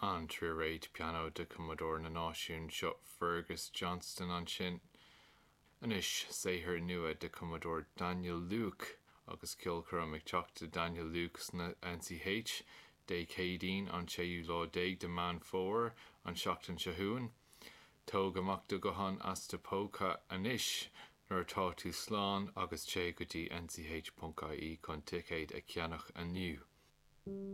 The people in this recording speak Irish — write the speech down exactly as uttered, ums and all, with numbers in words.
An tríréad pianó de cumadóir na náisiún seo Fergus Johnston ansin. Anois saothar nua de cumadóir Daniel Luke agus ceolchoirm ag teacht do Daniel Luke sna NCH Dé Céadaoin an séú lá déag de Mheán Fómhair an seachtain seo chugainn. Tóg amach do ghuthán as do phóca anois nuair atá tú slán agus téigh go dtí nch.ie chun ticéid a cheannach inniu.